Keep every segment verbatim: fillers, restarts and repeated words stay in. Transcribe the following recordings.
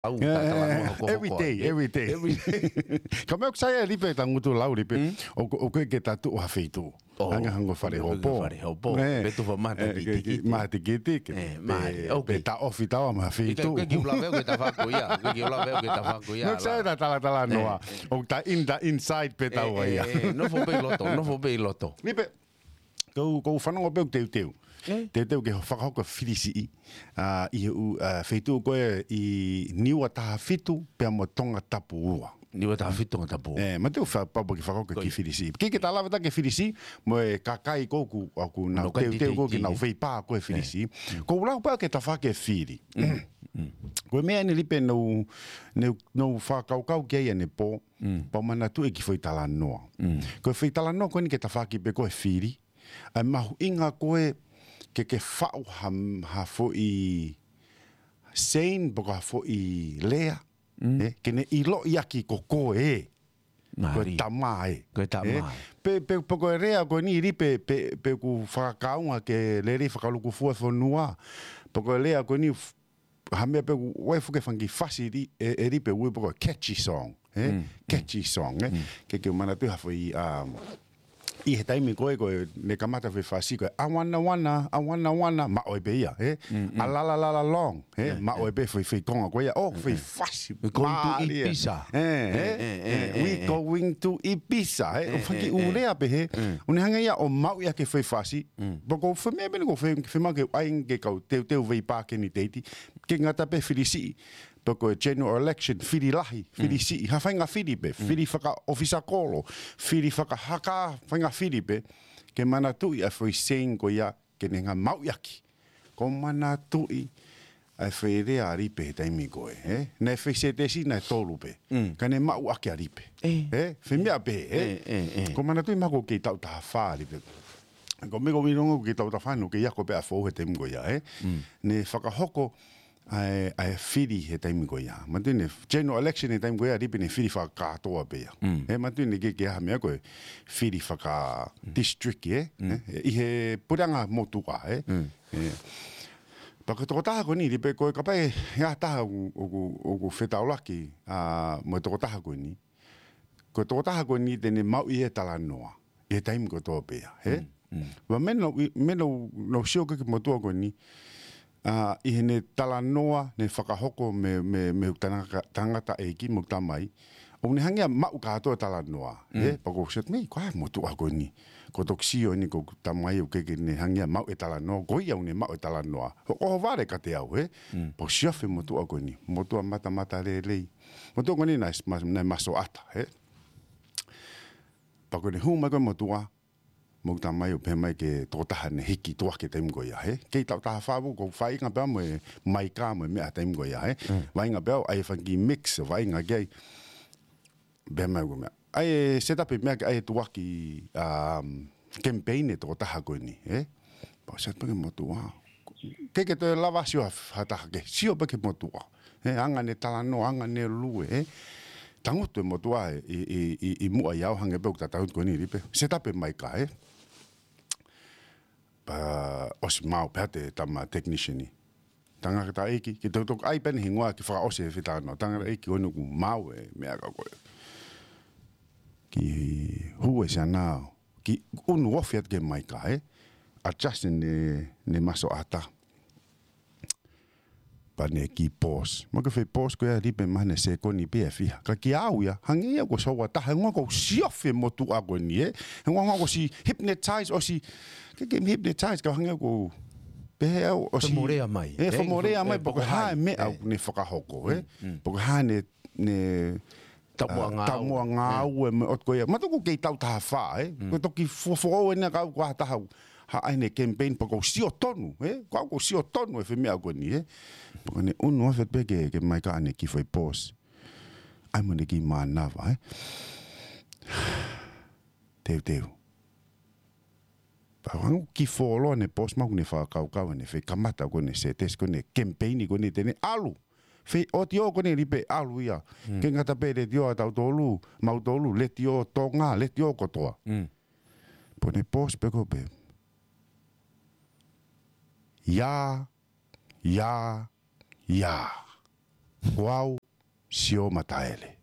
Au, eh, tā talanoa eh, hokohoko every day, ai, eh? Every day. Every day. Ka meʻa ʻoku sai ʻa Lipe, tangutu lau Lipe. Mm. ʻOku, ʻoku ʻikai ke ta tuʻu ha feituʻu. Oh. Hanga hangē ko e fale hopo. Fale hopo. Eh. Pe tufa maha, eh, ke, ke, tikitiki. Maha tikitiki. Eh, pe, maha, okay. Pe ta ofi taua maha feituʻu. ʻIkai, ʻikai ke u lave au ki he tafaʻaki ko ia. ʻIkai ke u lave au ki he tafaʻaki ko ia. Meʻa ʻoku sai ʻa e tatalanoa. Eh. ʻOku ta in the inside pē taua ia. Eh, eh, nofo pē ʻi loto, nofo pē ʻi loto. Lipe, ʻoku ou, ʻoku ou fanongo pē ʻoku teuteu. Eh? Teuteu ke fakahoko e fili siʻi. ʻA, ʻi he ʻū, ʻa, feituʻu ko ē ʻi Niua taha fitu pea mo Tongatapu ua. Niua taha fitu, Tongatapu ua. Eh, ma te u fa-, pau ke fakahoko e kiʻi fili siʻi. Ko ia. Ke, ke ta lave atu ki he fili siʻi, mo e kakai ko ē ʻoku, ʻoku nau teuteu ko ē ke nau feipā ko ē he fili siʻi. Eh. Mm. ʻOku ou lau pē au ki he tafaʻaki e fili. Mm. Mm. Ko e meʻa eni Lipe naʻá ku, naʻá ku, naʻá ku fakakaukau ki ai ʻanepō, Mm. pea u manatuʻi e kiʻi foʻi talanoa. Mm. Ko e foʻi talanoa ko eni ki he tafaʻaki pē ko ē e fili. ʻA e mahuʻinga ko ē ke, ke faʻu ha, ha foʻi saying, pe ko ha foʻi lea. Mm. Eh, ke ne ʻiloʻi ʻaki ko koe ē. Ko e tama ē. Ko e tama ē. Eh, pe, pe, pe ko e lea ko eni Lipe, pe, pe ʻoku fakakaunga ke lele fakalūkufua e fonua. Pe ko e lea ko eni f-, ha meʻa pē ʻoku ʻi ai e fuʻu kiʻi fanga kiʻi fasi ʻi, ē, ē Lipe, ʻoku ui pē ko e catchy song, ē? Mm, mm. Catchy song, ē? Mm. Ke, ke manatuʻi ha foʻi, um, ʻi he taimi ko ē, ko ē, ne kamata e foʻi fasi ko ē, "I wanna wanna, I wanna wanna," maʻu ai pē ia, ē? Mm, mm. "A la la la la long," ē? Yeah, maʻu ai pē foʻi, foʻi konga ko ia, ʻo, foʻi fasi. "We going to Ibiza." Ē, ē, ē, ē, ē, "We going to Ibiza," ē? ʻO fanga kiʻi ʻū lea pehē, ʻo ne hanga ia ʻo maʻu ia ki he foʻi fasi, Mm. Pea ko e foʻi meʻa pē eni ʻoku ou fie, fiemaʻu ke ʻai ke kau teuteu veipā ke ni teiti, ke ngata pē fili siʻi, pe ko e general election, fili lahi, fili siʻi, ha faʻahinga fili pē, fili fakaʻofisa kolo, fili fakahaka, faʻahinga fili pē, ke manatuʻi ʻa e foʻi saying ko ia, ke ne hanga maʻu ʻaki. ʻOku ou manatuʻi ʻa e foʻi lea ʻa Lipe he taimi ko ē, ē? Naʻe foʻi sētesi naʻe tolu pē. Mm. Ka ne maʻu ʻaki ʻa Lipe. Ē. Ē? Foʻi meʻa pē, ē? Ē, ē, ē. ʻOku ou manatuʻi mahalo ʻoku kei taʻu taha fā ʻa Lipe. Ko e meʻa ko e ʻuhinga ʻoku kei taʻu taha fā, ʻoku kei ako pē ʻa Foʻou he taimi ko ia, ē? Mm. Ne fakahoko ʻa e, ʻa e fili he taimi ko ia. Manatuʻi ne general election he taimi ko ia, Lipe ne fili fakakātoa pē ia. Mm. Ē, manatuʻi ne ʻikai ke ʻi ai ha meʻa ko e fili faka-district, ē? Mm. Ē? ʻI he puleʻanga motuʻa, ē? Mm. Ē. Pea ko e tokotaha ko eni, Lipe, ko e kapau ʻe ʻi ai ha taha ʻoku, ʻoku, ʻoku fetaulaki, ʻa, mo e tokotaha ko eni. Ko e tokotaha ko eni te ne maʻu e talanoa ʻi he taimi kotoa pē ia, ē? Mm, mm. Pea meʻa naʻá ku, meʻa naʻá ku, naʻá ku sio ki he motuʻa ko eni, ʻa, ʻi heʻene talanoa, ne fakahoko mei, mei, mei he tangata, tangataʻeiki mo e tamai. ʻO ne hanga ia ʻo maʻu kātoa e talanoa, ē? Mm. Pea ʻoku ou sio atu, "Mei, ko e hā e motuʻa ko eni? Ko e toki sio eni ko e tamai ʻoku ʻikai ke ne hanga ia ʻo maʻu e talanoa, ko ia ʻoku ne maʻu e talanoa." ʻO, ʻo ʻohovale kiate au, ē? Mm. Pea u sio ʻi he motuʻa ko eni, motuʻa matamatalelei. Motuʻa ko eni naʻe, ma-, naʻe masoʻata, ē? Pea ko ʻene hū mai ko ē e motuʻa, mo e tamai ʻo pehē mai ki he tokotaha ne hiki tuʻa ki he taimi ko ia, ē? Kei taʻu taha fā au, ʻoku ou vaʻinga pē au mo e maika mo e meʻa he taimi ko ia, ē? Mm. Vaʻinga pē au, ʻai e fanga kiʻi mix, vaʻinga ki ai. Pehē mai ko e meʻa, ʻai e set up e meʻa ke ʻai e tuʻuaki, um, campaign e tokotaha ko eni, ē? Pea u sio pē ki he motuʻa. ʻIkai ke toe lava sio ha, ha taha kehe, sio pē ki he motuʻa. Ē, hanga ʻene talanoa, hanga ʻene lue, ē. Tangutu e motuʻa ē, ʻi, ʻi, ʻi, ʻi muʻa ʻiate au, hangē pē ʻoku ta tangutu ko eni, Lipe. Set up e maika, ē. Pea ʻosi maau pē ʻe he tama technician ē. Tangataʻeiki, ke tau toki ʻai pē ʻene hingoa ke fakaʻosi e fetano. Tangataʻeiki, ʻoku maau e meʻa ka ko ē. Kiʻi hū e siana, kiʻi ʻunu ofi atu ki he maika, ē. Adjust ʻene, ʻene masoʻata. Pea ne kiʻi pause. Mo e kiʻi foʻi pause ko ia, Lipe, mahalo ʻe sekoni pē ʻe fiha. Ka kiate au ia, hangē ia ʻoku ou soua taha, hangē ʻoku ou siofi e motuʻa ko eni, ē. Hangē ʻoku ou ʻosi hypnotize, ʻosi, ʻikai ke hypnotize, ka hangē ʻoku ou pehē au, ʻosi fakamolea mai, ē, ē, fakamolea mai, pe ko e hā e meʻa ʻoku ne fakahoko, ē. Mm, mm. Pe ko e hā ʻene, ʻene taumuʻa, ʻa, ngāue. Taumuʻa ngāue, ē, mo e ʻotu ko ia. Mātuʻaki ʻoku kei taʻu taha fā, ē. Mm. Ko e toki fuofua ʻeni ka ʻoku ʻi ai ha taha ʻoku haʻi ʻene campaign pea ʻoku ou sio tonu, ē. Ko au ʻoku ou sio tonu he foʻi meʻa ko eni, ē. Pea ne ʻunu ofi atu pē ki he, ki he maika ʻene kiʻi foʻi pause. ʻAi mo ʻene kiʻi mānava, ē. Teuteu. Pea hangē ʻoku kiʻi fuoloa ʻene pause, mahalo ʻoku ne fakakaukau ʻene foʻi kamata ko eni, sētesi ko eni, campaign ko eni te ne ʻalu. Foʻi ʻotiō ko eni, Lipe, ʻalu ia. Mm. ʻIkai ngata pē he letiō ʻatautolu, mautolu, letiō Tonga, letiō kotoa. Mm. Pea ne pause pē ko ē pē. Ia, ia, ia. Ko au, Sio Mataele.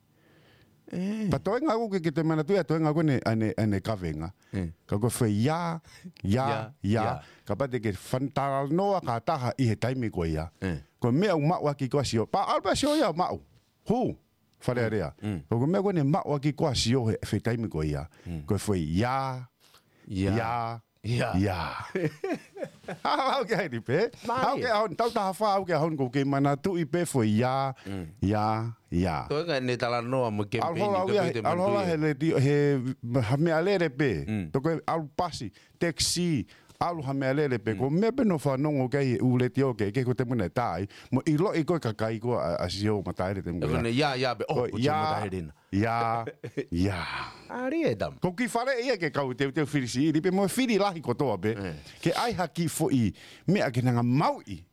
Pea toenga ʻoku ke, ke te manatuʻi ʻa e toenga ko eni ʻa ʻene, ʻa ʻene kavenga. Ka ko e foʻi ia, ia, ia. Kapau te ke fan talanoa ki ha taha ʻi he taimi ko ia. Ko e meʻa ʻoku maʻu ʻaki ko ā Sio. Pea ʻalu pē ʻa Sio ia ʻo maʻu. Hū, Fale Alea. Ko e meʻa ko eni maʻu ʻaki ko ā Sio he, he taimi ko ia. Ko e foʻi ia, ia, ia. Ia. Ia. Aʻu ki ai ni pē. Mālie. Aʻu ki he ʻaho ni, tau taha fā, aʻu ki he ʻaho ni ʻoku ou kei manatuʻi pē foʻi ia, ia, ia. Toenga ʻene talanoa mo e kemipeini ʻalu holo au ia, ʻalu holo he letiō, he ha meʻalele pē. Toko e ʻalu pasi, taxi, ʻalu ha meʻalele pē. Ko e meʻa pē naʻe fanongo ki ai he ʻū letiō kehekehe ko e taimi naʻe tā ai. Mo ʻiloʻi ko ē kakai ko ā ʻa, ʻa Sio Mataele taimi ko ia. Ia, ia, pē. Ko ʻo, ko Sio ia, Mataele na. Ia, ia. Mālie e tama. Ko e kiʻi faleʻi ia ke kau teuteu fili siʻi, pea mo e fili lahi kotoa pē. Ke ʻai ha kiʻi foʻi meʻa ke nau hanga ʻo maʻu ʻi.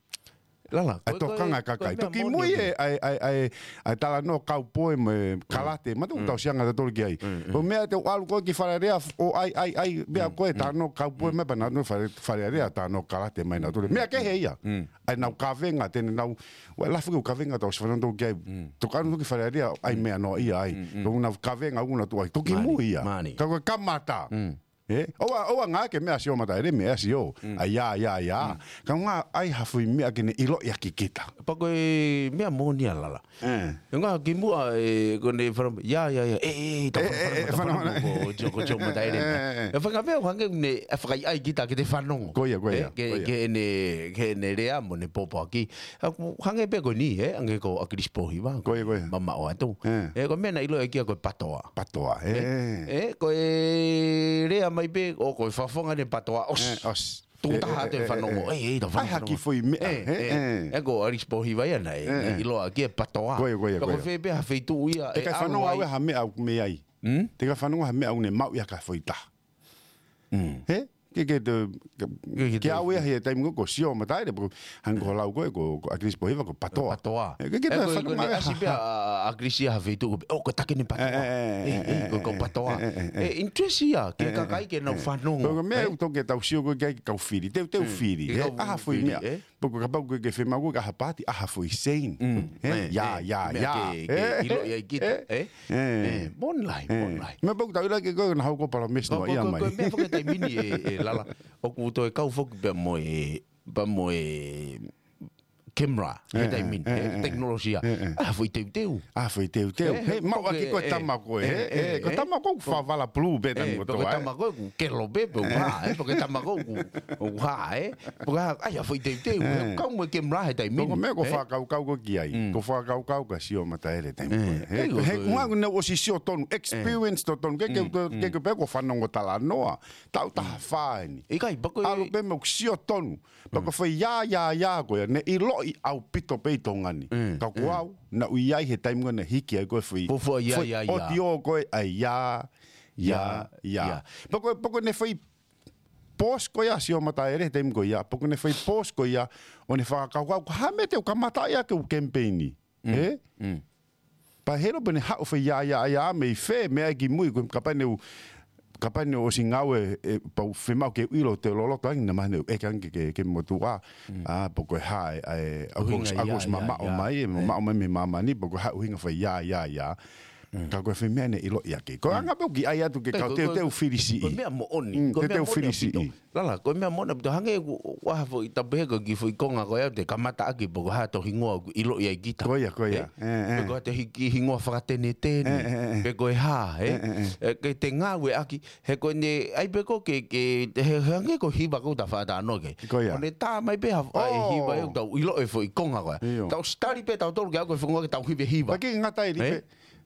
Lala, ʻa e tokanga ʻa e kakai. Toki mui e, ʻa e, ʻa e, ʻa e, ʻa e talanoa kaupoe mo e kalate. Mātuʻa ʻoku tau siʻi anga tautolu ki ai. Ko e meʻa te u ʻalu ko ē ki Fale Alea ʻo ʻai, ʻai, ʻai, meʻa ko ē talanoa kaupoe mai pē naʻa nau Fale, Fale Alea talanoa kalate mai nautolu. Meʻa kehe ia. ʻA ʻenau kavenga, te nau, ʻoua ʻe lafi ke u kavenga tau siʻi fanongo ki ai. Toki ʻalu ki Fale Alea, ʻai meʻa noa ia ai. Ko ʻenau kavenga, ʻoku nau tuʻu ai. Toki mui ia. Ka ko e kamata. ʻE, ʻoua, ʻoua ngā ke meʻa Sio Mataele, meʻa Sio. ʻA ia, ia, ia. Ka ngā ʻai ha foʻi meʻa ke ne ʻiloʻi ʻaki kita. Pea ko e meʻa moʻoni ia Lala. ʻE. ʻE ngā kimuʻa ʻe, ko ʻene fanongo, ia, ia, ia, ʻe, ʻe, ʻe, tau fanongo, fanongo, fanongo, ko, ko Sio Mataele. ʻE, ʻe, ʻe. ʻE fanga meʻa hangē ne, ʻe fakaʻaiʻai kita ke te fanongo. Ko ia, ko ia, ko ia. Ke ʻene, ke ʻene lea mo ʻene pōpoaki. ʻA, hangē pē ko eni, ʻe, hangē ko ʻAkilisi Pōhiva. Ko ia, ko ia. Mamaʻo atu. ʻE. ʻE, ko e meʻa naʻe ʻiloʻi ʻaki ia ko e patoa. Patoa, ʻe. ʻE, ko e lea mai pē, ʻo ko e fafonga ʻene patoa, ʻosi. ʻE, ʻosi. Tuʻu taha atu e fanongo. ʻE, ʻe, tau fanongo. ʻAi ha kiʻi foʻi meʻa, ʻe, ʻe, ʻe. ʻE, ko ʻAkilisi Pōhiva ia naʻe, naʻe ʻiloa ʻaki e patoa. Ko ia, ko ia, ko ia. Pea ko fē pē ha feituʻu ia, ʻe ʻikai fanongo au ia ha meʻa ʻoku mei ai. Te ʻikai fanongo ha meʻa ʻoku ne maʻu ia ki ha foʻi taha. ʻE? Ke, ke te, ke, ke au ia he taimi ko ē ko Sio Mataele, pea ko hangē ko e lau ko ē ko, ko ʻAkilisi Pōhiva ko e patoa. Patoa. ʻE, ke, ke te fanongo au ia ha, ha. ʻAkilisi ia ha feituʻu, ʻo, ko e taki ʻene patoa. ʻE, ʻe, ʻe, ko e patoa. ʻE, interest ia, ke kakai ke nau fanongo. Ko e meʻa ʻoku tau ke tau sio ko ē ki ai ke kau fili. Teuteu fili. ʻA ha foʻi meʻa. Pea ko e kapau ko ē ke fiemaʻu ko ē ke ʻai ha paati, ʻai ha foʻi saying. ʻE, ia, ia, ia. Ke, ke ʻiloʻi ai kita, ʻe? ʻE, moʻoni lahi, moʻoni lahi. Meʻa pau ʻoku tau ʻilo ʻaki ko ē naʻa hoko palamesi noa ia mai. Ko e meʻa foki he taimi ni ʻe, ʻe Lala. ʻOku toe kau foki pea mo e, pea mo e camera, he taimi ni, ʻe, tekinolosia. ʻA ha foʻi teuteu. ʻA ha foʻi teuteu. ʻE, maʻu ʻaki ko e tama ko ē, ʻe, ko e tama ko ē ʻoku fāvala pulu pē taimi kotoa, ʻe. Ko e tama ko ē ʻoku kelo pē, pē ʻoku hā, ʻe, ko e tama ko ē ʻoku, ʻoku hā, ʻe. Pea ko e hā, ʻai ha foʻi teuteu, ʻe, kau mo e camera he taimi ni. Ko e meʻa ʻoku ou fakakaukau ko ē ki ai. ʻOku ou fakakaukau kia Sio Mataele taimi ko ē. He, he, ʻoku nau ʻosi sio tonu, experience totonu, ke, ke, ke, ke pē ko e fanongo talanoa, tau taha fā eni. ʻIkai, pea ko e ʻalu pē mo sio tonu. Pea ko e foʻi ia, ia, ia ko ia, ne ʻiloʻi ʻaupito pē ʻi Tonga ni. Ka ko au, naʻá ku ʻi ai he taimi ko ē ne hiki ai ko e foʻi, foʻi ia, foʻi ia, ia. Audio ko ē, ʻa e ia, ia, ia. Pea ko e, pea ko ʻene foʻi post ko ia Sio Mataele he taimi ko ia, pea ko ʻene foʻi post ko ia, ʻo ne fakakaukau, ko e hā e meʻa te u kamata ia ke u kemipeini. ʻE? Pea helo pē ne haʻu foʻi ia, ia, ia, mei fē, meʻa ki mui, ko e kapau ne u, kapau ne u ʻosi ngāue, ʻe, pea u fiemaʻu ke u ʻilo te loloto ange, naʻa mahalo ne u ʻeke ange ke, ke, ke motuʻa. ʻA, pea ko e hā, ʻe, ʻe, ʻa, ʻoku ʻosi mamaʻo mai, ʻe, mamaʻo mai mei māmani, pea ko e hā ʻuhinga foʻi ia, ia, ia. Ka ko e foʻi meʻa ne ʻiloʻi ʻaki. Ko e anga pē ʻoku ʻi ai atu ke kau teuteu fili siʻi. Ko e meʻa moʻoni. Ko e meʻa moʻoni ʻaupito. Lala, ko e meʻa moʻoni ʻaupito. Hangē ʻoku, ʻoku ʻi ai ha foʻi tapu he ko e kiʻi foʻi konga ko ia te kamata ʻaki pea ko e hā hoto hingoa ʻoku ʻiloʻi ai kita. Ko ia, ko ia. ʻE? Pea ko e hā hoto hi-, kiʻi hingoa fakatenetene. Pea ko e hā, ʻe? ʻE, ke te ngāueʻaki, he ko ʻene, ʻai pē ko ē ke, ke, he, he hangē ko e hiva ko ē ʻoku ta fakatalanoa ki ai. Ko ia. ʻO ne tā mai pē ha, ʻa e hiva ʻoku tau ʻilo e foʻi konga ko ia. Tau study pē tautolu ke aʻu ko e foʻi konga ke tau hiva hiva. Pea ke ngata ai pē.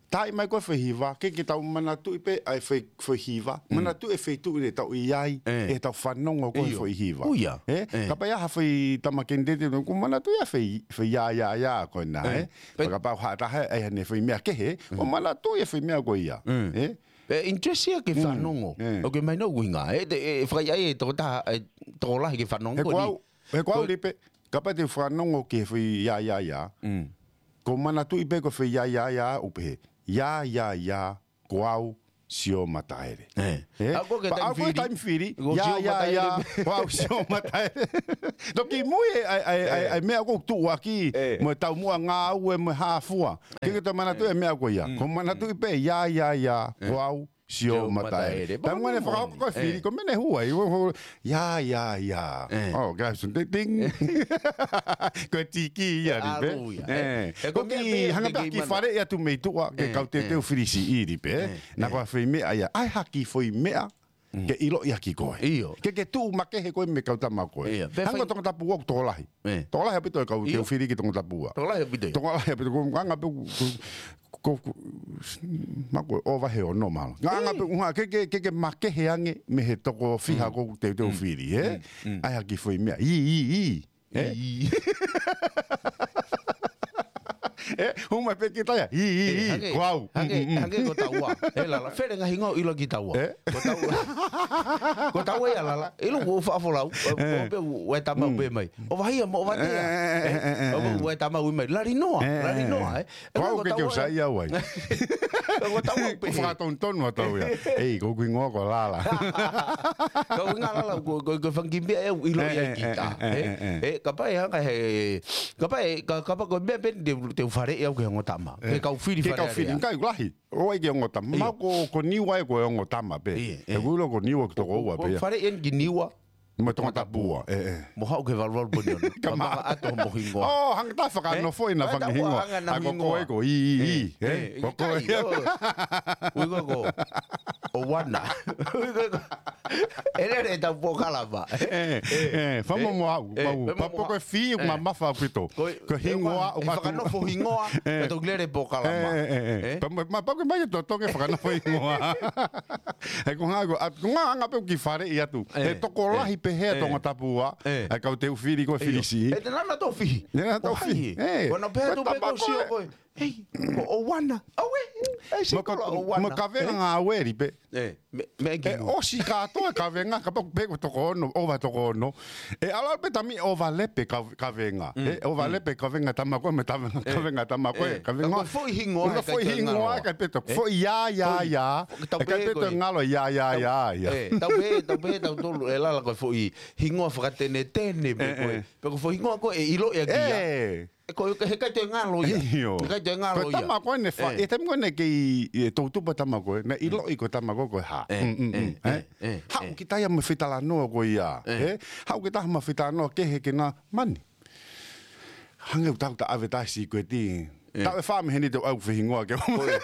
Taaʻi mai ko ē foʻi hiva, ke, ke tau manatuʻi pē, ʻa e foʻi, foʻi hiva. Manatuʻi e feituʻu ʻe tau ʻi ai, ʻe tau fanongo ko ē foʻi hiva. ʻE? Kapau ʻe ʻi ai ha foʻi tama kenitete, ʻoku manatuʻi ʻa e foʻi, foʻi ia, ia, ia, ko ena, ʻe? Pea kapau ha taha, ʻe ʻi ai haʻane foʻi meʻa kehe, ʻo manatuʻi e foʻi meʻa ko ia. ʻE? Pea interest ia ke fanongo. ʻOku mahino ʻuhinga, ʻe, te, ʻe, fakaʻaiʻai e tokotaha, ʻe, tokolahi ke fanongo ko eni. He ko au, he ko au Lipe, kapau te u fanongo ki he foʻi ia, ia, ia. Ko e manatuʻi pē ko e foʻi ia, ia, ia, ʻoku pehē. Ia, ia, ia, ko au, Sio Mataele. ʻE. ʻE? ʻA ko e taimi fili. Ko au ko e taimi fili. Ko ia, Sio ia, Mataele ia. Ko au Sio Mataele. Toki mui e, ʻai, ʻai, ʻai, ʻe, ʻai meʻa ko tuʻuaki. ʻE. Mo e taumuʻa ngāue mo e hāfua. ʻE. Ke ke toe manatuʻi e meʻa ko ia. Mm. Ko manatuʻi pē, ia, ia, ia. ʻE. Ko au Sio Mataele. Sio Mataele. Taimi ngone fakahoko ko e fili, ko mene huai. Ia, ia, ia. ʻE. Oh, guys, ting, ting. Ko e tiki ia, ʻalu ia. ʻE. ʻE. Ko e meʻa pē hanga pē ki fale ia tu mei tuʻa, ke kau teuteu fili siʻi pē. ʻE. Na ko e foʻi meʻa ia. ʻAi ha kiʻi foʻi meʻa, ke ʻiloʻi ʻaki koe. ʻIo. Ke ke tuʻu makehe koe mei he kau tama ko ē. ʻIo. Hangē ko Tongatapu ʻoku tokolahi. ʻE. Tokolahi ʻaupito e kau teuteu fili ki Tongatapu. Tokolahi ʻaupito. Tokolahi ʻaupito. Ko nganga pē ko, ko, ko, ma ko ʻo vahe ʻo nō mala. Nganga pē, ke, ke, ke, ke makehe ange mei he toko fiha ko teuteu fili, ē? ʻAi ha kiʻi foʻi meʻa. ʻI, ʻi, ʻi. ʻE? ʻI. ʻE, hū mai pē ki taia. ʻI, ʻi, ʻi. Ko au. Hangē ko taua. ʻE Lala, fele ngaahi hingoa ʻiloa ki taua. ʻE? Ko taua. Ko taua ia Lala. ʻIlo ko faʻa folau. ʻE. Ko pē ʻoe tama pē mai. ʻO vahi ia mo ʻo vatea. ʻE, ʻe, ʻe, ʻe, ʻe. ʻO pē ʻoe tama ui mai. Lali noa. Lali noa, ʻe. Ko au ke ke usa ia uai. Ko taua pē. Ko fakatonutonu atu ia. ʻEi, ko ʻeku hingoa ko Lala. Ko ʻeku hingoa Lala, ko, ko, ko e fanga kiʻi meʻa ʻe ʻilo ia kita. ʻE, ʻe, ʻe, ʻe. ʻE, kapau ʻe hanga he, kapau ʻe, ka, kapau ko e meʻa pē te, te u faleʻi au ki he ongo tama. Ke kau fili fale. Ke kau fili, kai lahi. ʻO ʻai ki he ongo tama. ʻIo. Ma ko, ko Niua ʻe ko e ongo tama pē. ʻIo, ʻe. ʻE ʻilo ko Niua ki toko ua pē ia. Faleʻi eni ki Niua. Mo Tongatapu. ʻE, ʻe. Mo haʻu ke valuvalu poni ono. Ka manga ʻato mo hingoa. ʻO, hanga ta fakanofo ʻi na fanga hingoa. Hanga na hingoa. Ko koe ko ʻi, ʻi, ʻi. ʻE, ko koe. Ui ko ko. ʻO wana. Ui ko ko. ʻE lele ʻetau polokalama. ʻE, ʻe, famo mo au, mau. Pea ko e fili ʻoku mamafa ʻaupito. Ko e hingoa ʻoku fakanofo hingoa. ʻE. Ka tau lele polokalama. ʻE, ʻe, ʻe. Pea ma, ma pau ke mai e totongi fakanofo hingoa. He ko ngā ko, ʻa, ko ngā anga pē ʻoku faleʻi atu. ʻE. He tokolahi pē he Tongatapu. ʻE. ʻA e kau teuteu fili ko e fili siʻi. ʻE, te nana tau fihi. Te nana tau fihi. ʻE. Ko na pehē atu pē ko sio ko e. Hei, ko ʻo wana. ʻAuē, ʻe, si ko ʻo wana. Mo kavenga ngāue ʻi pē. ʻE, me, me ki ʻosi kātoa e kavenga, kapau pē ko toko ono, ʻo vahe toko ono. ʻE, ʻalu pē tami ʻo vale pē ka, kavenga. ʻE, ʻo vale pē kavenga tama ko ē, mo e kavenga, kavenga tama ko ē, kavenga. Ka ko e foʻi hingoa, ka ko e foʻi hingoa, ka pē toko. Foʻi ia, ia, ia. Ka pē toko ngalo ia, ia, ia, ia. ʻE, tau pē, tau pē, tau tolu, ʻe Lala ko e foʻi hingoa fakatenetene, pē ko e. Pē ko e foʻi hingoa ko e ʻilo ia kia. ʻE, ko e, he kai toe ngalo ia. ʻIo. He kai toe ngalo ia. Ko e tama ko ē ne fa, ʻe, tama ko ē ne kei, ʻe, tau tupa tama ko ē, ne ʻiloʻi ko e tama ko ē ko e hā. ʻE, ʻe, ʻe. Haʻu ki taia mo e fetalanoa ko ia. ʻE. Haʻu ki taha mo e fetalanoa kehe ke na mani. Hangē ʻoku tau ta ʻave taha sikueti. ʻE. Tau ʻe fā mei heni te u ʻai ʻeku foʻi hingoa ke. Ko e.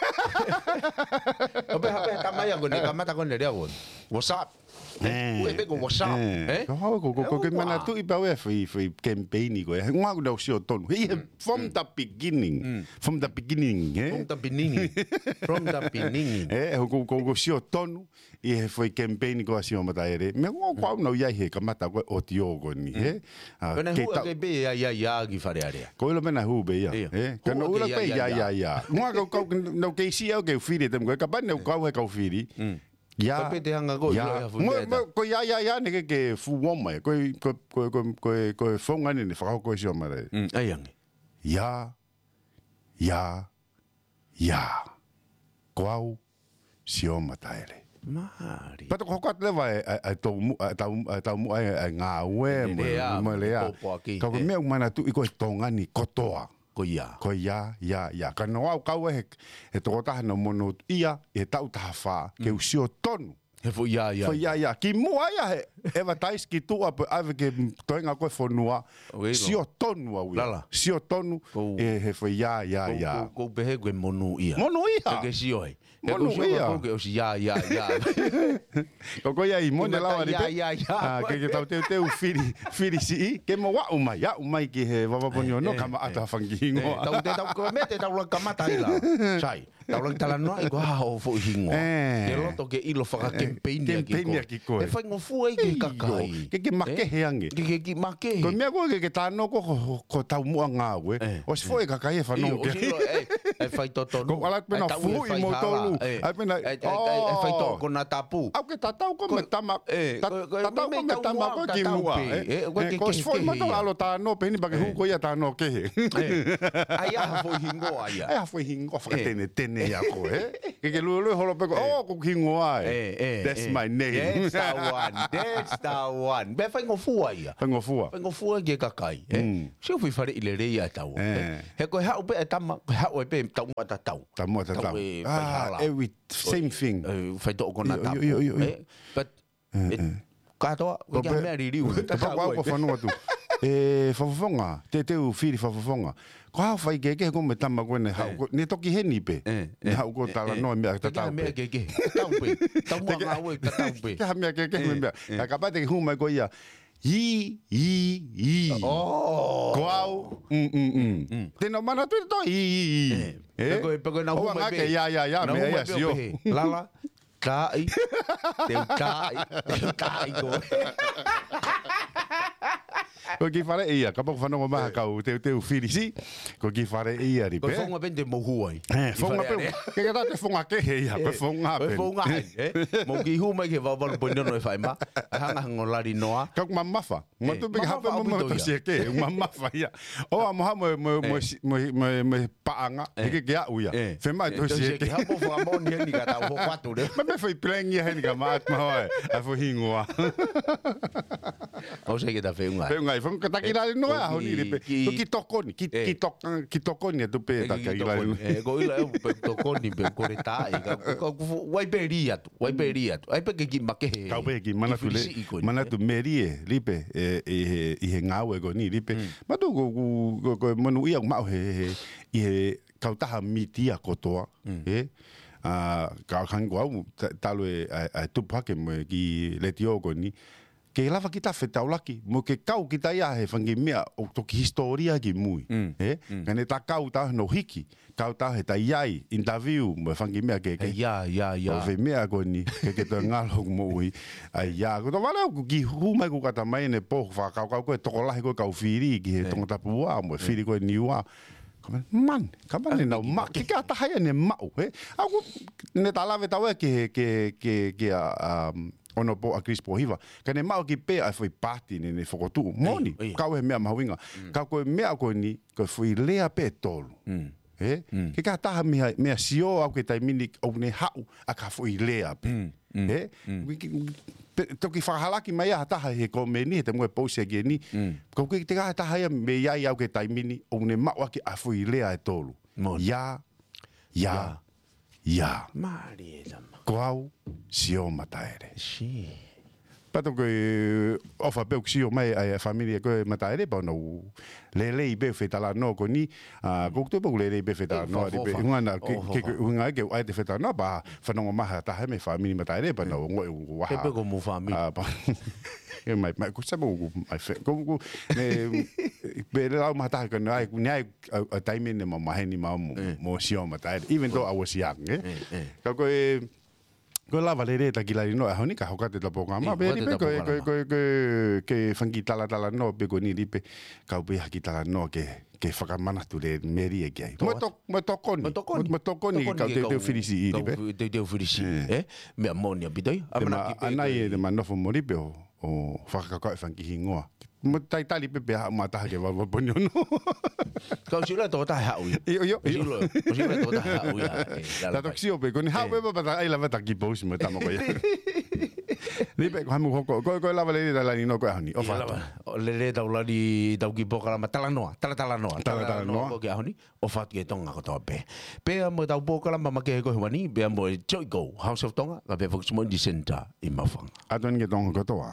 ʻO pē ha pē tama ia ko ē ne kamata ko ē ne lea ko ē. What's up? ʻE. Ko e pē ko what's up, ʻe? Ko hau ko, ko, ko ke manatuʻi pē ʻe au e foʻi, foʻi campaign ko ē. He ngā ʻoku nau sio tonu. He, he, from the beginning. From the beginning, ʻe? From the beginning. From the beginning. ʻE, ko, ko, ko sio tonu ʻi he foʻi campaign ko ē ʻa Sio Mataele. Meʻa ko, ko au nau ia he kamata ko e ʻotiō ko eni, ʻe? Ko na ke hū tau ke pē ia, ia, ia ki Fale Alea. Ko ʻilo mena hū pē ia, ʻe? Ka nau ʻilo pē ia, ia, ia. Ngā kau, kau, nau kei si au ke fili te mo ko e kapau ne u kau he kau fili. Ia. Ka pē te hanga ko ia. Ia. Mo, mo, ko ia, ia, ia, ne ke, ke fuo mai. Ko, ko, ko, ko, ko, ko e founga ne, ne fakahoko ʻe Sio Mataele. ʻAi ange. Ia, ia, ia. Ko au, Sio Mataele. Mālie. Pea toki hoko atu leva e, e, e tau mu, e tau, e tau mu, e, e ngāue, mo e lea, mo e lea. Pōpoaki. Ka ko e meʻa ʻoku manatuʻi ko e Tonga ni kotoa. Ko ia. Ko ia, ia, ia. Ka nau ʻau kau he, he tokotaha nau monūʻia, he taʻu taha fā, ke u sio tonu. He foʻi ia, ia. Foʻi ia, ia. Ki muʻa ia he, advertise ki tuʻa pē ʻave ke toenga ko e fonua. Sio tonu au ia. Lala. Sio tonu, ʻe, he foʻi ia, ia, ia. Ko, ko, ko pehē ko e monūʻia. Monūʻia. Ke, ke sio ai. He ko sio ko ke ʻosi ia, ia, ia. Ko ko ia ʻi mone lava ni pē. Ia, ia, ia. Ke, ke tau teuteu fili, fili siʻi. Ke mo aʻu mai, aʻu mai ki he vavaponi ono, kama ata fangi hingoa. Tau, te tau, ko e meʻa te tau laka kamata ai la. Sai. Tau laka talanoa ʻi ko ha hoʻo foʻi hingoa. Ke loto ke ʻilo fakakempeini ʻaki koe. Kempeini ʻaki koe. ʻE faingofua ʻi ke kakai. Ke, ke makehe ange. Ke, ke, ke makehe. Ko e meʻa ko ē ke, ke tano ko, ko, ko tau muʻa ngāue. ʻOsi foʻi kakai e fanongo ke. ʻOsi ʻilo, ʻe, ʻe fai totonu. Ko ala pena fuʻi mo tolu. ʻE, ʻe, ʻe fai toko na tapu. ʻAu ke tatau ko me tama, tatau ko me tama ko ki muʻa, ʻe. Ko ʻosi foʻi mata alo tano, peheni pake hū ko ia tano kehe. ʻAi ha foʻi hingoa ia. ʻAi ha foʻi hingoa fakatenetene ia ko, ʻe. Ke ke lue lue holo pē ko, oh, ko e hingoa ē. That's my name. That's the one. That's the one. Pea faingofua ia. Faingofua. Faingofua ki he kakai, ē? Sio, fuifaleʻi lelei ia ʻa taua, ē? He ko e haʻu pē ʻa e tama, ko e haʻu ē pē taumuʻa tatau. Taumuʻa tatau. Taumuʻa ē, faihala. Ah, every same thing. Ē, faitoʻo konatapu. Ē, but kātoa, ko e kiʻi meʻa liliu. Kapau ko au ko e fanongo atu. Ē, Fakafofonga, te teu fili Fakafofonga. Ko e hā hoʻo faikehekehe ko e meʻa tama ko ē naʻe haʻu ko, ne toki heni pē. Ne haʻu ko e talanoa meʻa tatau pē. Meʻa kehekehe. Tatau pē. Taumuʻa ngāue tatau pē. Te ke ha meʻa kehekehe meʻa. Ka kapau te ke hū mai ko ia. I, i, i. Ko au, mm, mm, mm. Te nau manatu ʻi he toʻo i, i, i. Ē? Pe ko e, pe ko e nau hū mai pē. Ia, ia, ia, meʻa ia, sio. Lala, tāʻi, teu tāʻi, teu tāʻi koe. Ko e kiʻi faleʻi ia, kapau ko e fanongo mai ha kau teuteu filisi, ko e kiʻi faleʻi ia, Lipe. Ko e founga pē te mou hū ai. Ē, founga pē, ke ka te founga kehe ia, ko e founga pē. Ko e founga ai, ē? Mou kiʻi hū mai ki he valu valu poini ono F M, hanga hango lali noa. Ka ʻoku mamafa. Matu pē ke hape mo mo tosi eke, mamafa ia. ʻO amo ha mo, mo, mo paʻanga, ʻikai ke aʻu ia. Fema tosi eke. Hapo fakamoʻoni heni ka tau hoko atu leva. Mei fai planning ia heni ka maʻat mahoa ē. ʻA e foʻi hingoa. ʻOsi ke ta feʻunga. Feʻunga, feʻunga ka ta kiʻi lali noa ʻaho ni, Lipe. Ko e kiʻi tokoni, kiʻi, kiʻi tok-, kiʻi tokoni atu pē ta kiʻi lali noa. Ē, ko ila ʻe pe tokoni, pe kole tāʻi, ka, ka, ka, wai pē li atu. Wai pē li atu. ʻAi pē ke kiʻi makehe. Kau pē kiʻi manatu le, manatu melie, Lipe, ē, ʻi he, ʻi he ngāue ko eni, Lipe. Matu ko, ko, ko, ko e monūʻia ʻoku maʻu he, he, ʻi he kautaha mītia kotoa, ē? ʻA, ka hangē ko au, ta-, talu e, ʻa, ʻa e tupu hake mo e kiʻi letiō ko eni. Ke lava kita fetaulaki, mo ke kau kita ia he fanga kiʻi meʻa ʻoku toki hisitōlia ki mui, ē? Ka ne ta kau ta hono hiki, kau ta he ta ʻi ai, interview, mo e fanga kiʻi meʻa kehekehe. Ia, ia, ia. ʻO e foʻi meʻa ko eni, ke ke toe ngalo hoku moʻui. ʻAi, ia, ko e tō vale ʻoku kiʻi hū mai ko e kata mai ne pō, fakakaukau ko e tokolahi ko e kau fili ki he Tongatapu ua, mo e fili ko e Niua. Ka mani, man, ka mani nau ma-, ke ka taha ia ne maʻu, ē? ʻA ʻoku, ne ta lave tau ē ke, ke, ke, ke ʻa, um, Honourable ʻAkilisi Pōhiva. Ka ne maʻu ki pē ʻa e foʻi paati ne, ne fokotuʻu. Moʻoni, kau he meʻa mahuʻinga. Ka ko e meʻa ko eni, ko e foʻi lea pē ʻe tolu. Ē? Ke ka taha meʻa, meʻa sio au ki he taimi ni ʻoku ne haʻu ʻaki ha foʻi lea pē. Ē? Pe, toki fakahalaki mai ʻa ha taha he komeni, he te mo e pousi ʻaki eni. Ko ke te ka taha ia meʻa ia au ki he taimi ni, ʻoku ne maʻu ʻaki ha foʻi lea ʻe tolu. Ia, ia, ia. Mālie tama. Ko au, Sio Mataele. Pato ko e ʻofa pē ʻoku sio mai ʻa e family ko e Mataele, pea nau lelei pē fetalanoa ko eni, ʻa, ko e tuʻu pē ʻoku lelei pē fetalanoa, ʻofa, ʻofa. Hunga na, ke, ke, hunga ke ʻai te fetalanoa, pea fanongo mai ha taha mei he family Mataele, pea nau ongoʻi ʻoku ʻaha. Pē ko mo family. ʻA, pea, ē mai, mai, ko se mo, ko, mai fe, ko, ko, ne, pē lau mai ha taha ka ne ʻai, ne ʻai, ʻa, ʻa taimi ne mau maheni mau mo, mo Sio Mataele. Even though I was young, ē? Ka ko e, ko e lava lelei ta kiʻi lali noa ʻaho ni ka hoko atu e ta polokalama. Pea ko e, ko e, ko e, ko e, ke fanga kiʻi talatalanoa pē ko eni Lipe, kau pē ha kiʻi talanoa ke, ke fakamanatu lelei melie ki ai. Mo to-, mo tokoni. Mo tokoni. Mo tokoni, kau teuteu filisi, Lipe. Teuteu filisi, ē? Meʻa moʻoni ʻaupito ia. Te ma, ʻanai ē, te ma nofo mo Lipe ʻo, ʻo fakakaukau e fanga kiʻi hingoa. Mo talitali pē pea haʻu mai ha taha ki he valu valu poini ono. Kau sio ʻe tokotaha haʻu ia. ʻIo, ʻio, ʻio. Kau sio ʻe tokotaha haʻu ia. Ē, ta toki sio pē, ko eni haʻu pē pea ta ʻai lava ta kiʻi pousi mo e tama ko ia. Lipe, ko hamu hoko, ko, ko e lava lelei ta lali noa ko e ʻaho ni. ʻOfa atu. Lava, ʻo lelei tau lali, tau kiʻi polokalama talanoa, talatalanoa. Talatalanoa. Talatalanoa ko e ʻaho ni, ʻofa atu ki he Tonga kotoa pē. Pea mo e tau polokalama makehe ko e ʻaho ni, pea mo e Joy Go, House of Tonga, ka pea Fox Moʻoni Center ʻi Maʻufanga. ʻAtu eni ki he Tonga kotoa.